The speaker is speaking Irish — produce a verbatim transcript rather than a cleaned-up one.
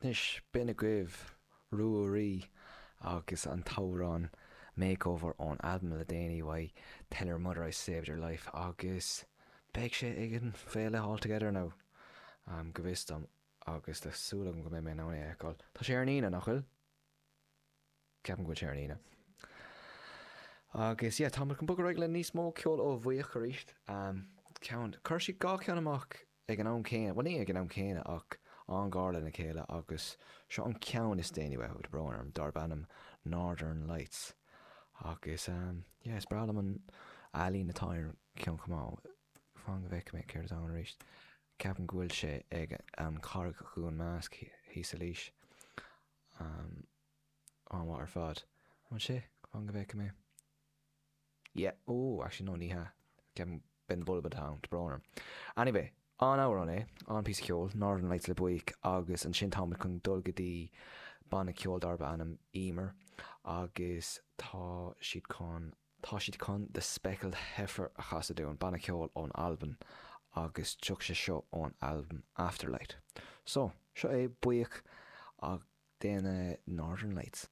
Anois, b'in agaibh Ruairí agus an t-amhrán Makeover ón albam le déanaí uaidh, Tell Your Mother I Saved Your Life, agus beidh sé ag an féile All Together Now, go bhfios dom, agus tá súil agam go mbeidh mé in ann é a fheiceáil. Tá sé ar an Aoine, nach bhfuil? Ceapaim go bhfuil sé ar an Aoine. Agus yeah, tá muid chun bogadh ar aghaidh le níos mó ceol ó Bhuíoch arís. Ceann, chuir siad dhá cheann amach ag an am céanna, bhuel ní ag an am céanna ach an-ghar lena chéile agus seo an ceann is déanaí uathu, tá brón orm, darb ainm Northern Lights. Agus yeah, is breá liom an ealaín atá ar an cheann chomh maith. Fan go bhfeicfidh mé céard atá ann arís. Ceapaim go bhfuil sé ag an Charraig Dhún Másc thíos i Laois. An-mhaith ar fad. An bhfuil sé? Fan go bhfeicfidh mé. Yeah, oh, actually no, ní hea. Ceapaim Ben Bulb atá ann, tá brón orm. Anyway, an-amhrán é, an-phíosa ceoil, Northern Lights le Buíoch agus ansin táimid chun dul go dtí banna ceoil darb ainm Emer agus tá siad chun, tá siad chun The Speckled Heifer a chasadh dúinn, banna ceoil ón Albain agus tiocfaidh sé seo ón albam Afterlight. So, seo é Buíoch ag déanamh Northern Lights.